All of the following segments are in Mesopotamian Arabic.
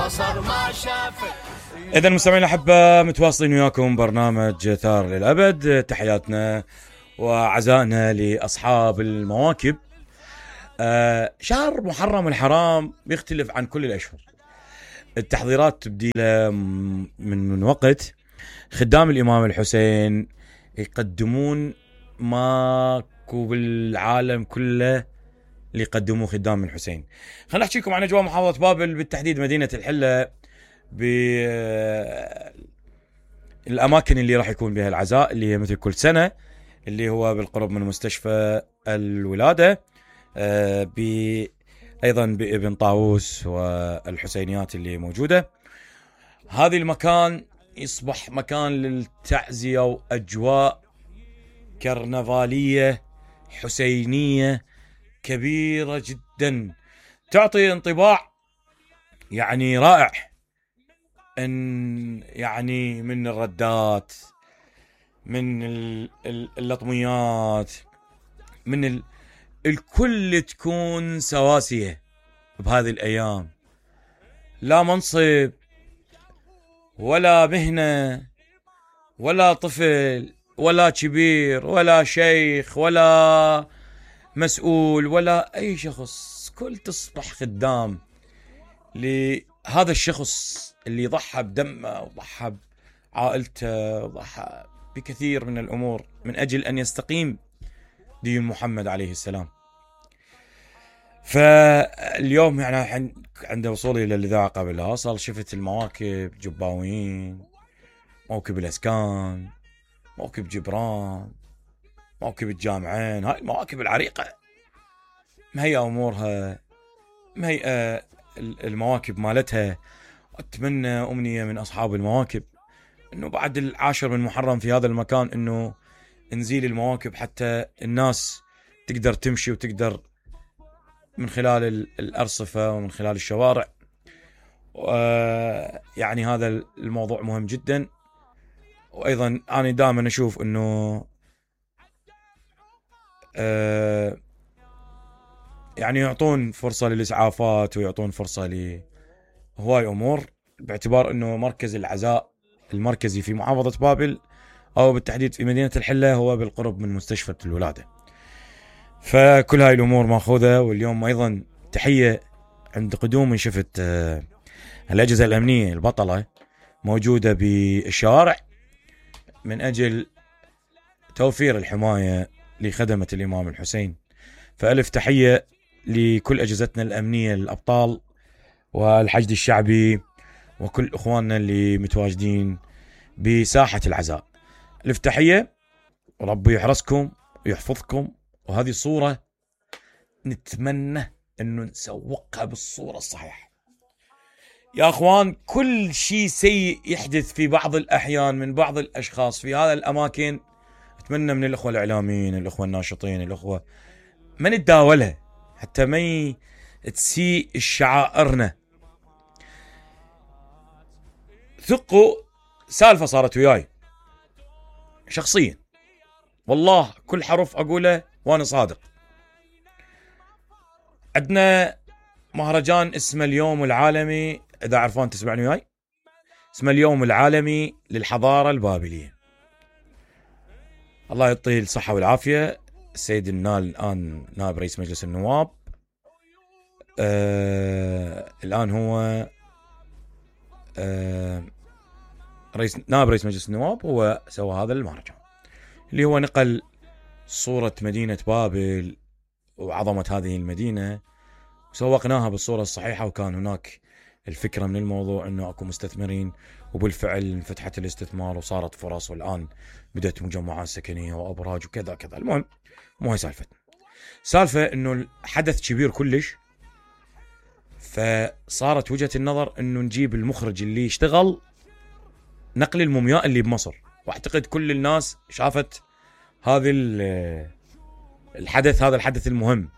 بصر ما شافت. إذا المستمعين الأحبة متواصلين وياكم برنامج ثار للأبد. تحياتنا وعزائنا لأصحاب المواكب. شهر محرم الحرام بيختلف عن كل الأشهر. التحضيرات تبدي له من وقت. خدام الإمام الحسين يقدمون ماكو بالعالم كله اللي يقدموه خدام الحسين. خلنا نحكي لكم عن أجواء محافظة بابل، بالتحديد مدينة الحلة، بالأماكن اللي راح يكون بها العزاء اللي هي مثل كل سنة، اللي هو بالقرب من مستشفى الولادة، أيضا بابن طاووس والحسينيات اللي موجودة. هذه المكان يصبح مكان للتعزية وأجواء كرنفالية حسينية كبيرة جدا، تعطي انطباع يعني رائع، ان يعني من الردات، من اللطميات، من الكل تكون سواسية بهذه الأيام. لا منصب ولا مهنة ولا طفل ولا كبير ولا شيخ ولا مسؤول ولا أي شخص، كل تصبح خدام لهذا الشخص اللي ضحى بدمه وضحى بعائلته وضحى بكثير من الأمور من أجل أن يستقيم دين محمد عليه السلام. فاليوم يعني عند وصولي إلى الإذاعة قبل أصل شفت المواكب، جباوين، موكب الأسكان، موكب جبران، موكب الجامعين، هاي المواكب العريقة مهيئة أمورها، مهيئة المواكب مالتها. أتمنى أمنية من أصحاب المواكب أنه بعد 10 من محرم في هذا المكان أنه نزيل المواكب حتى الناس تقدر تمشي وتقدر من خلال الأرصفة ومن خلال الشوارع. يعني هذا الموضوع مهم جدا. وأيضا أنا دائما أشوف أنه يعني يعطون فرصة للإسعافات ويعطون فرصة لهواي أمور، باعتبار أنه مركز العزاء المركزي في محافظة بابل أو بالتحديد في مدينة الحلة هو بالقرب من مستشفى الولادة. فكل هاي الأمور مأخوذة. واليوم أيضا تحية عند قدوم شفت الأجهزة الأمنية البطلة موجودة بالشوارع من أجل توفير الحماية لخدمة الإمام الحسين. فألف تحية لكل أجهزتنا الأمنية الأبطال والحشد الشعبي وكل إخواننا اللي متواجدين بساحة العزاء. ألف تحية، وربي يحرسكم ويحفظكم. وهذه صورة نتمنى أنه نسوقها بالصورة الصحيحة يا أخوان. كل شيء سيء يحدث في بعض الأحيان من بعض الأشخاص في هذا الأماكن، أتمنى من الأخوة الإعلاميين، الأخوة الناشطين، الأخوة ما نتداولها حتى ما تسيء الشعائرنا. ثقوا، سالفة صارت وياي شخصيا والله، كل حرف أقوله وأنا صادق. عندنا مهرجان اسمه اليوم العالمي، إذا عرفان تسمعني وياي، اسمه اليوم العالمي للحضارة البابلية. الله يعطيه الصحة والعافية السيد الآن نائب رئيس مجلس النواب. الآن هو نائب رئيس مجلس النواب، هو سوى هذا المهرجان اللي هو نقل صورة مدينة بابل وعظمة هذه المدينة وسوقناها بالصورة الصحيحة. وكان هناك الفكرة من الموضوع أنه أكو مستثمرين، وبالفعل انفتحت الاستثمار وصارت فرص، والآن بدأت مجمعات سكنية وأبراج وكذا كذا. المهم مو هي سالفة أنه الحدث كبير كلش، فصارت وجهة النظر أنه نجيب المخرج اللي يشتغل نقل المومياء اللي بمصر، واعتقد كل الناس شافت هذا الحدث، هذا الحدث المهم.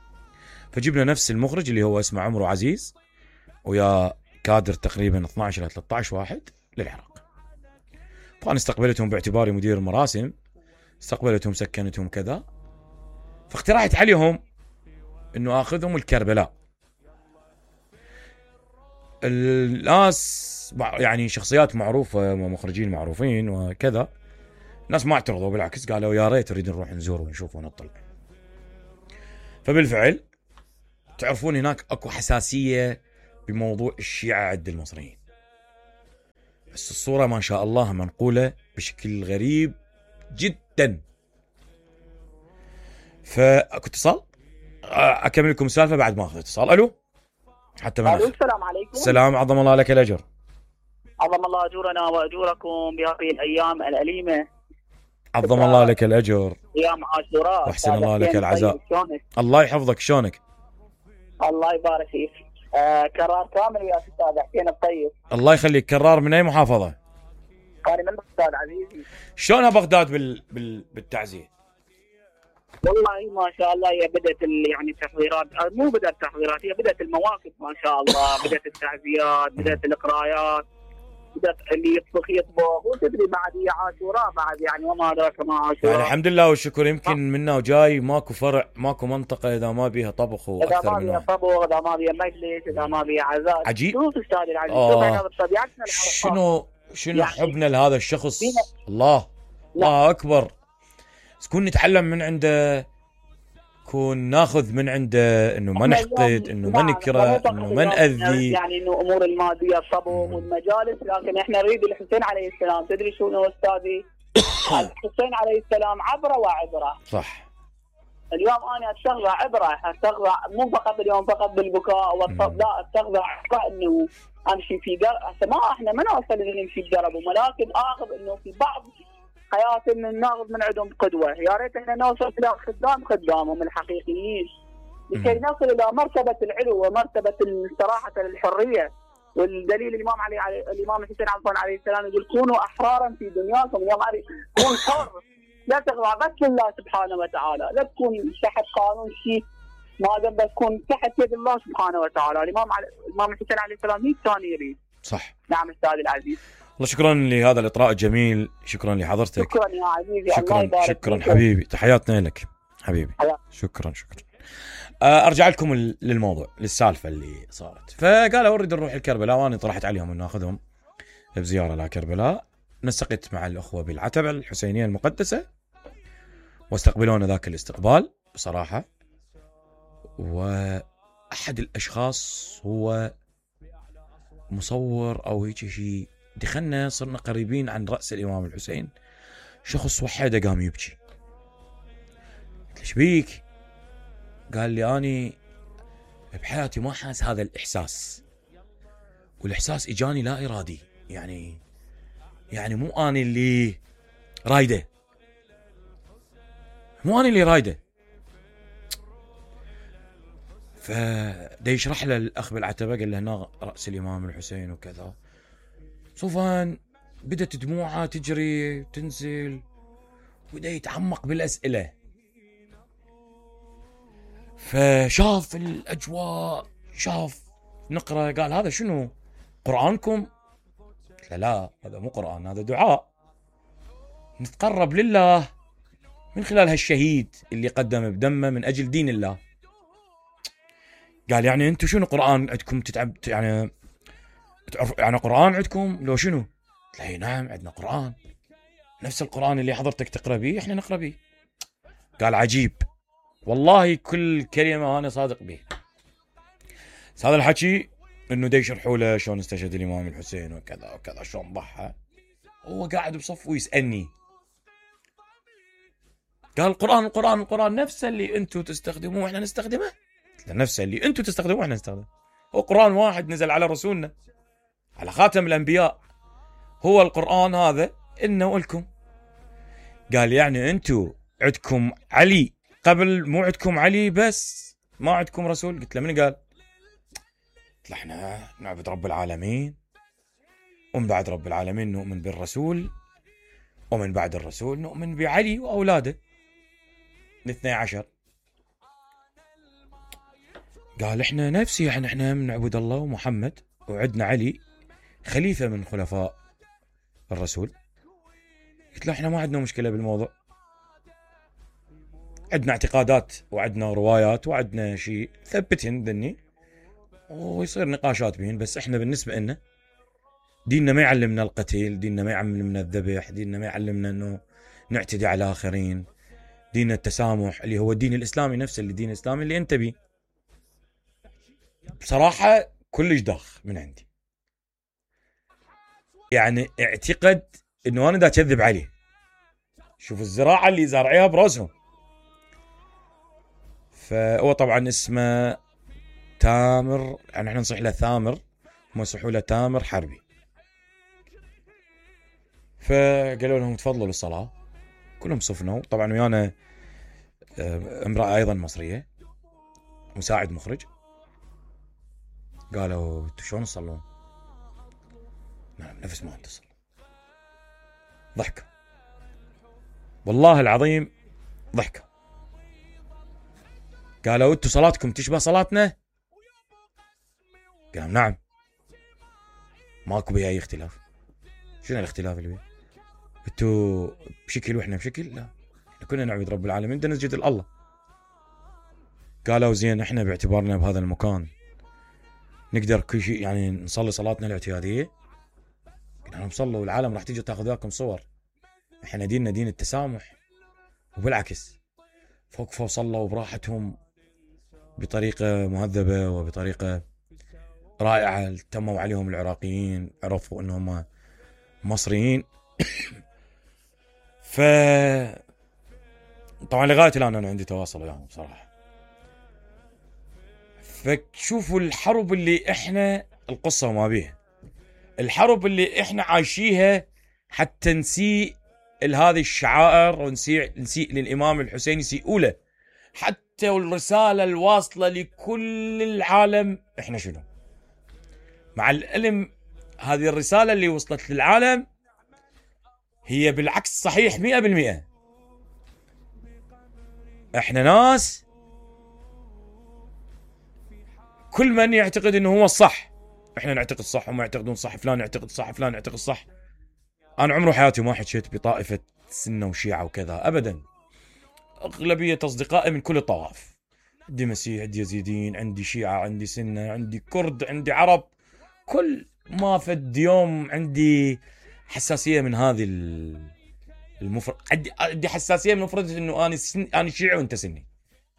فجبنا نفس المخرج اللي هو اسمه عمرو عزيز، ويا كادر تقريبا 12 إلى 13 واحد للعراق. فأنا استقبلتهم باعتباري مدير مراسم، استقبلتهم سكنتهم كذا، فاقترحت عليهم انه اخذهم الكربلاء. الناس يعني شخصيات معروفة ومخرجين معروفين وكذا، الناس ما اعترضوا، بالعكس قالوا يا ريت نريد نروح نزور ونشوف ونطلع. فبالفعل تعرفون هناك اكو حساسية بموضوع الشيعة عند المصريين، بس الصورة ما شاء الله منقولة بشكل غريب جدا. فاكو اتصال، اكمل لكم السالفة بعد ما اخذ اتصال. الو حتى ما الو السلام عليكم. السلام، عظم الله لك الاجر. عظم الله اجورنا واجوركم بهذه الايام الاليمه. عظم الله لك الاجر. ايام عاشوراء. واحسن الله لك العزاء. الله يحفظك، شلونك؟ الله يبارك فيك. كرار كامل ويا استاذ حسين الطيب. الله يخليك. كرار من اي محافظة؟ قاري من بغداد عزيزي. شلونها بغداد بالتعزية؟ والله ما شاء الله هي بدات يعني التحضيرات، مو بدات التحضيرات، هي بدات المواقف ما شاء الله، بدات التعزيات، بدات القرايات، بدات اللي يطبخ وتدري بعد هي عاشوراء بعد يعني وما ادراك ما عاشوراء. يعني الحمد لله والشكر. يمكن منا وجاي ماكو فرع، ماكو منطقة اذا ما بيها طبخ واكثر اذا ما بيها طبخ، اذا ما بيها مجلس، اذا ما بيها عزاء. عجيب. شوف استاذ العزيز، شنو يعني حبنا لهذا الشخص. الله اكبر. كون نتعلم من عنده، كون ناخذ من عنده، انه ما نحقد، انه ما نكره، انه ما نأذي. يعني انه امور الماديه الطبخ والمجالس، لكن احنا نريد الحسين عليه السلام. تدري شنو استاذي؟ الحسين عليه السلام عبره وعبره. صح. اليوم انا استغرى عبره، استغرى مو فقط اليوم فقط بالبكاء والطب، لا استغرى عبره انه امشي في درب. احنا ما نوصل انه نمشي بدرب، ولكن اخذ انه في بعض حياتنا ناخذ من عندهم قدوه. يا ريت احنا نوصل الى خدامهم الحقيقيين لكي نصل الى مرتبه العلو ومرتبه الصراحه للحريه. والدليل الامام الحسين عليه السلام يقول كونوا احرارا في دنياكم. اليوم كون حر، لا تخضع بس لله سبحانه وتعالى، لا تكون تحت قانون شيء، ما دام بس تكون تحت يد الله سبحانه وتعالى. الامام الحسين عليه السلام 100 ثانيه يريد. صح. نعم استاذ العزيز. والله شكرا لهذا الاطراء الجميل، شكرا لحضرتك. شكرا يا عزيزي. شكرا حبيبي، تحياتنا لك حبيبي. شكرا. ارجع لكم للموضوع، للسالفه اللي صارت. فقالوا اريد نروح لكربلاء، وانا طرحت عليهم ان ناخذهم بزياره لكربلاء. نسقت مع الاخوه بالعتبه الحسينيه المقدسه، واستقبلونا ذاك الاستقبال بصراحه. واحد الاشخاص هو مصور او هيك شيء، دخلنا صرنا قريبين عن رأس الإمام الحسين. شخص وحده قام يبكي. قلت له شبيك؟ قال لي أني بحياتي ما حاس هذا الإحساس، والإحساس إجاني لا إرادي. يعني مو أنا اللي رايده، فدا يشرح له الأخ بالعتبة، قال له هنا رأس الإمام الحسين وكذا. صوفان بدت دموعه تجري تنزل، وبدأ يتعمق بالأسئلة. فشاف الأجواء، شاف نقرأ، قال هذا شنو؟ قرآنكم؟ قلت له لا، هذا مو قرآن، هذا دعاء نتقرب لله من خلال هالشهيد اللي قدم بدمه من أجل دين الله. قال يعني أنتم شنو قرآن عندكم يعني تعرف يعني قرآن عندكم لو شنو؟ قلت له نعم عندنا قرآن، نفس القرآن اللي حضرتك تقرأ به احنا نقرأ به. قال عجيب، والله كل كلمة أنا صادق به. هذا الحكي انه دا يشرحوا له شلون استشهد الإمام الحسين وكذا وكذا، شلون ضحى. هو قاعد بصف ويسألني، قال القرآن نفسه اللي انتم تستخدموه احنا نستخدمه. قلت له نفسه اللي انتم تستخدموه احنا نستخدمه، هو قرآن واحد نزل على رسولنا، على خاتم الأنبياء، هو القرآن هذا إنه ولكم. قال يعني أنتوا عندكم علي قبل، مو عندكم علي بس ما عندكم رسول؟ قلت له من قال؟ قلت له احنا نعبد رب العالمين، ومن بعد رب العالمين نؤمن بالرسول، ومن بعد الرسول نؤمن بعلي وأولاده 12. قال احنا نفسي احنا نعبد الله ومحمد، وعندنا علي خليفة من خلفاء الرسول. قلت له احنا ما عندنا مشكلة بالموضوع، عندنا اعتقادات وعندنا روايات وعندنا شيء ثبتهن ذني، ويصير نقاشات بين. بس احنا بالنسبة لنا ديننا ما يعلمنا القتل، ديننا ما يعلمنا الذبح، ديننا ما يعلمنا انه نعتدي على الاخرين. دين التسامح اللي هو الدين الاسلامي نفسه، اللي الدين الاسلامي اللي انت بيه. بصراحة كلش داخ من عندي، يعني اعتقد انه انا دا اكذب عليه. شوف الزراعة اللي زارعيها براسهم. فهو طبعا اسمه تامر، يعني احنا نصيح له ثامر، هم يصيحوا له تامر حربي. فقالوا لهم تفضلوا للصلاة، كلهم صفنوا. طبعا ويانا امرأة ايضا مصرية، مساعد مخرج. قالوا انتوا شلون تصلون؟ نفس ما انت تصلي. ضحكوا، والله العظيم ضحكوا. قالوا انتوا صلاتكم تشبه صلاتنا؟ قالوا نعم، ماكو بها اي اختلاف. شنو الاختلاف اللي بيه؟ انتوا بشكل واحنا بشكل؟ لا، احنا كنا نعبد رب العالمين، بدنا نسجد لله. قالوا زين احنا باعتبارنا بهذا المكان نقدر كل شيء يعني نصلي صلاتنا الاعتياديه؟ قلنا لهم صلوا، والعالم راح تيجي تاخذ وياكم صور. احنا ديننا دين التسامح، وبالعكس فوقفوا وصلوا براحتهم بطريقه مهذبه وبطريقه رائعه. تموا عليهم العراقيين، عرفوا انهم مصريين. ف طبعا لغايه الان انا عندي تواصل وياهم بصراحه. فشوفوا الحرب اللي احنا، القصه وما بيها، الحرب اللي احنا عايشيها حتى نسيء لهذه الشعائر ونسيء للامام الحسين، يسيئوا له. حتى والرساله الواصله لكل العالم احنا شنو؟ مع العلم هذه الرساله اللي وصلت للعالم هي بالعكس صحيح 100%. احنا ناس كل من يعتقد انه هو الصح، احنا نعتقد صح، هم يعتقدون صح، فلان يعتقد صح، فلان يعتقد صح. انا عمره حياتي ما حكيت بطائفه سنه وشيعه وكذا ابدا. اغلبيه اصدقائي من كل الطوائف، عندي مسيح، عندي يزيدين، عندي شيعه، عندي سنه، عندي كرد، عندي عرب. كل ما فد يوم عندي حساسيه من هذه المفرد. عندي حساسيه من مفردة انه انا شيعي وانت سني.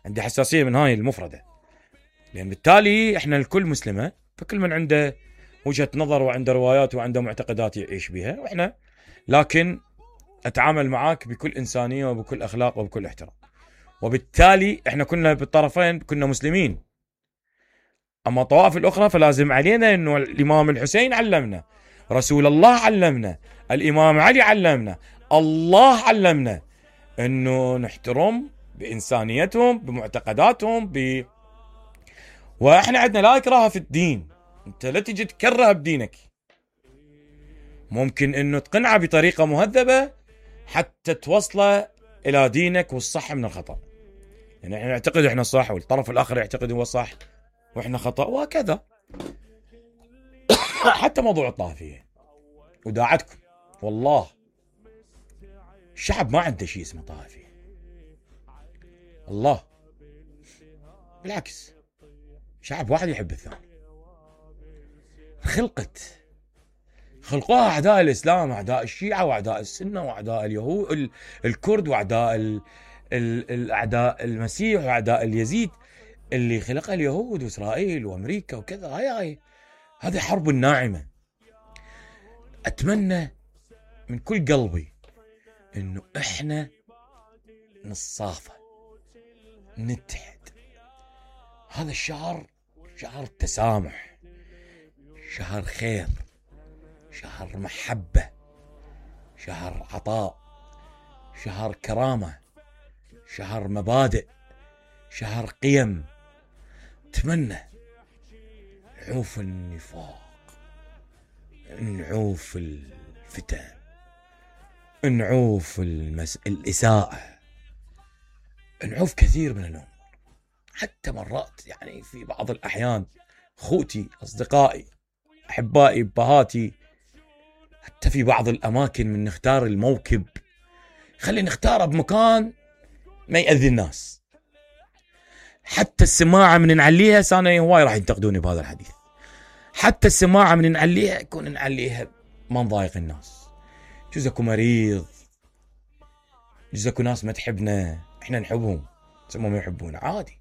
عندي حساسيه من هاي المفرده، لان بالتالي احنا الكل مسلمه، فكل من عنده وجهه نظر وعنده روايات وعنده معتقدات يعيش بها، واحنا لكن اتعامل معاك بكل انسانيه وبكل اخلاق وبكل احترام. وبالتالي احنا كنا بالطرفين كنا مسلمين. اما الطوائف الاخرى فلازم علينا انه الامام الحسين علمنا، رسول الله علمنا، الامام علي علمنا، الله علمنا انه نحترم بانسانيتهم، بمعتقداتهم، واحنا عندنا لا اكراه في الدين. انت لا تجي تكره بدينك، ممكن انه تقنعه بطريقه مهذبه حتى توصله الى دينك والصح من الخطا. يعني احنا نعتقد احنا صح، والطرف الاخر يعتقد هو صح واحنا خطا، وهكذا. حتى موضوع الطائفيه وداعتكم، والله الشعب ما عنده شيء اسمه طائفيه، الله بالعكس، شعب واحد يحب الثاني. خلقوها اعداء الاسلام، اعداء الشيعه، واعداء السنه، واعداء اليهود الكرد، واعداء الاعداء المسيح، واعداء اليزيد اللي خلقها اليهود واسرائيل وامريكا وكذا. هذه حرب ناعمه. اتمنى من كل قلبي انه احنا نتصافى، نتحد. هذا الشهر شهر تسامح، شهر خير، شهر محبة، شهر عطاء، شهر كرامة، شهر مبادئ، شهر قيم. اتمنى نعوف النفاق، نعوف الفتن، نعوف الإساءة، نعوف كثير من الأمور. حتى مرات يعني في بعض الأحيان أخوتي، أصدقائي، أحبائي، بهاتي، حتى في بعض الأماكن من نختار الموكب، خلي نختاره بمكان ما يأذي الناس. حتى السماعة من نعليها، سانا هواي راح ينتقدوني بهذا الحديث، حتى السماعة من نعليها يكون نعليها ما نضايق الناس. جوز اكو مريض، جوز اكو ناس ما تحبنا، احنا نحبهم بس هم ما يحبونا، عادي.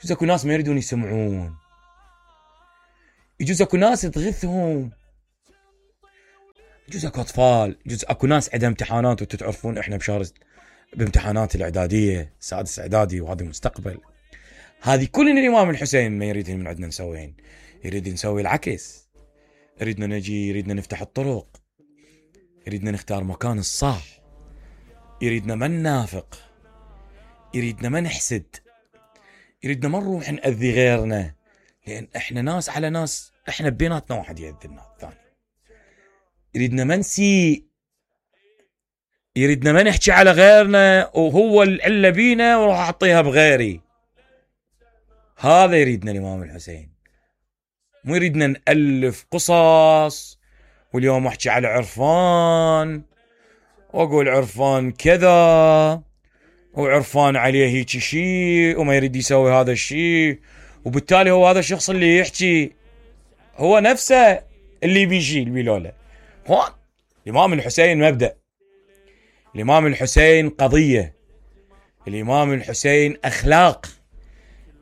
جوز اكو ناس ما يريدون يسمعون، يجوز اكو ناس تغثهم، يجوز اكو اطفال، يجوز اكو ناس عندها امتحانات، وانتم تعرفون احنا بشهر بامتحانات الاعداديه، سادس اعدادي، وهذا المستقبل. هذه كل الامام الحسين ما يريد من عندنا نسوين، يريد نسوي العكس، يريدنا نجي، يريدنا نفتح الطرق، يريدنا نختار مكان الصح، يريدنا ما ننافق، يريدنا ما نحسد، يريدنا ما نروح نأذي غيرنا، لأن احنا ناس على ناس، احنا بيناتنا واحد يأذي الثاني. يريدنا ما نسيء، يريدنا ما نحكي على غيرنا وهو العلة بينا وراح أعطيها بغيري. هذا يريدنا الإمام الحسين، مو يريدنا نألف قصص واليوم أحكي على عرفان وأقول عرفان كذا وعرفان عليه هيك شيء وما يريد يسوي هذا الشيء، وبالتالي هو هذا الشخص اللي يحكي هو نفسه اللي بيجي البلولة. هون الإمام الحسين مبدأ، الإمام الحسين قضية، الإمام الحسين أخلاق،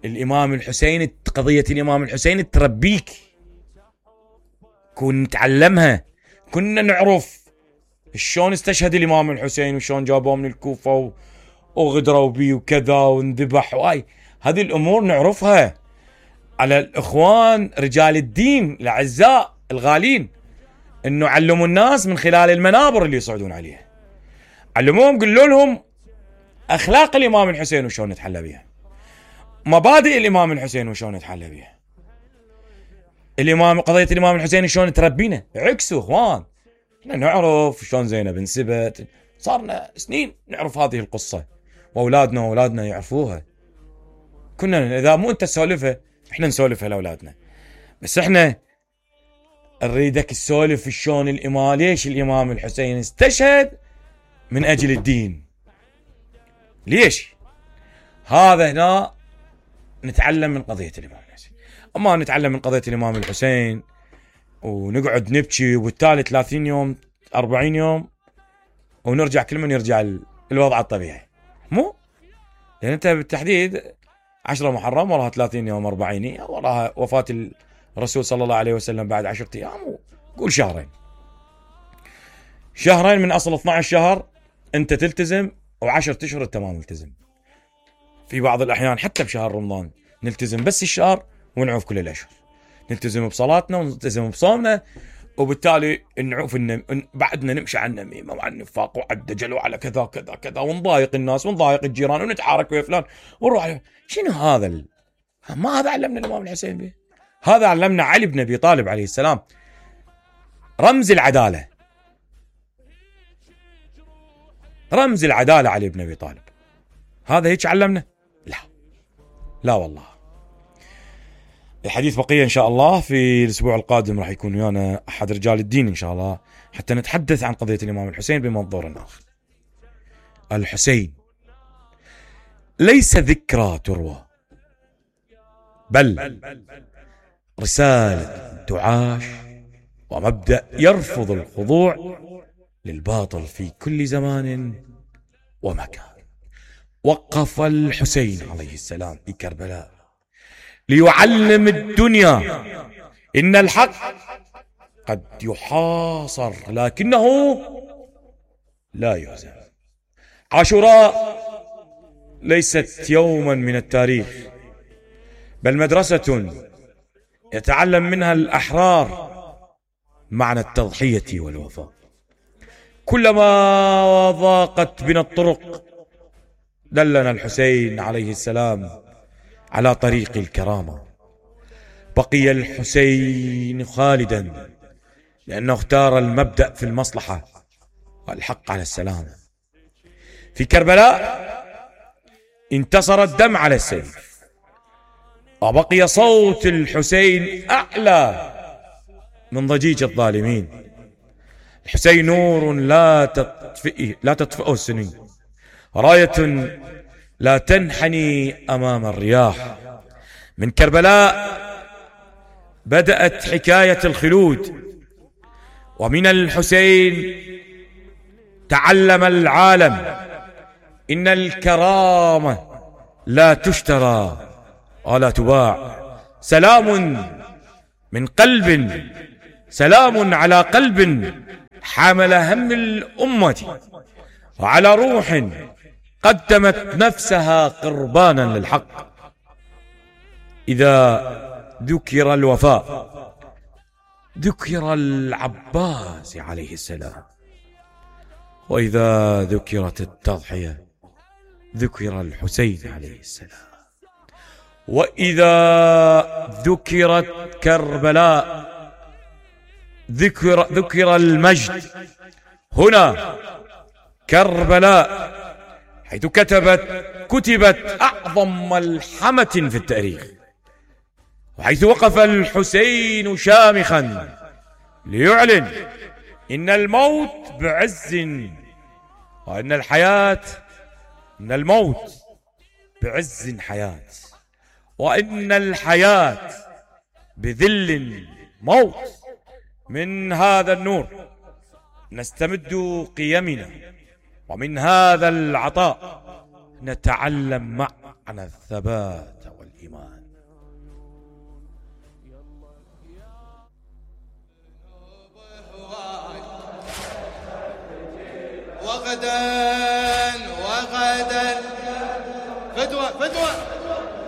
الإمام الحسين قضية الإمام الحسين تربيك، كنا نتعلمها، كنا نعرف شلون استشهد الإمام الحسين وشلون جابوه من الكوفة وغدروا بيه وكذا وانذبح، واي هذه الأمور نعرفها. على الإخوان رجال الدين الأعزاء الغالين إنه علموا الناس من خلال المنابر اللي يصعدون عليها، علموهم، قلوا لهم أخلاق الإمام الحسين وشلون نتحلى بها، مبادئ الإمام الحسين وشلون نتحلى بها، قضية الإمام الحسين شلون تربينا. عكسوا إخوان، احنا نعرف شلون زينب انسبت، صارنا سنين نعرف هذه القصة، وأولادنا يعرفوها. كنا إذا مو أنت تسولفها احنا نسولفها لأولادنا، بس احنا نريدك تسولف شلون ليش الإمام الحسين استشهد من أجل الدين، ليش؟ هذا هنا نتعلم من قضية الإمام الحسين. أما نتعلم من قضية الإمام الحسين ونقعد نبكي وبالتالي 30 يوم 40 يوم ونرجع كل من يرجع الوضع الطبيعي، مو لأن أنت بالتحديد 10 محرم وراها 30 يوم 40 وراها وفاة الرسول صلى الله عليه وسلم بعد 10 أيام، قول شهرين من أصل 12 شهر أنت تلتزم، و10 أشهر أنت ما ملتزم. في بعض الأحيان حتى بشهر رمضان نلتزم بس الشهر ونعوف كل الأشهر، نلتزم بصلاتنا ونلتزم بصومنا، وبالتالي نعوف إن بعدنا نمشي على النميمة وعلى النفاق وعلى الدجل وعلى كذا كذا كذا، ونضايق الناس ونضايق الجيران ونتعارك ويا فلان ونروح. شنو هذا ما هذا علمنا الإمام الحسين به، هذا علمنا علي بن أبي طالب عليه السلام، رمز العدالة، رمز العدالة علي بن أبي طالب. هذا هيك علمنا؟ لا والله. الحديث بقية إن شاء الله في الأسبوع القادم، راح يكون ويانا أحد رجال الدين إن شاء الله حتى نتحدث عن قضية الإمام الحسين بمنظور آخر. الحسين ليس ذكرى تروى، بل رسالة تعاش، ومبدأ يرفض الخضوع للباطل في كل زمان ومكان. وقف الحسين عليه السلام في كربلاء ليعلم الدنيا إن الحق قد يحاصر لكنه لا يهزم. عاشوراء ليست يوما من التاريخ، بل مدرسة يتعلم منها الأحرار معنى التضحية والوفاء. كلما ضاقت بنا الطرق دلنا الحسين عليه السلام على طريق الكرامة. بقي الحسين خالدا لأنه اختار المبدأ في المصلحة والحق على السلام. في كربلاء انتصر الدم على السيف، وبقي صوت الحسين أعلى من ضجيج الظالمين. الحسين نور لا تطفئه السنين، راية لا تنحني أمام الرياح. من كربلاء بدأت حكاية الخلود، ومن الحسين تعلم العالم إن الكرامة لا تشترى ولا تباع. سلام من قلب، سلام على قلب حمل هم الأمة، وعلى روح قدمت نفسها قربانا للحق. إذا ذكر الوفاء ذكر العباس عليه السلام، وإذا ذكرت التضحية ذكر الحسين عليه السلام، وإذا ذكرت كربلاء ذكر المجد. هنا كربلاء حيث كتبت أعظم ملحمة في التاريخ، وحيث وقف الحسين شامخا ليعلن إن الموت بعز، وإن الحياة، إن الموت بعز حياة، وإن الحياة بذل موت. من هذا النور نستمد قيمنا، ومن هذا العطاء نتعلم معنى الثبات والإيمان. وغدا فدوة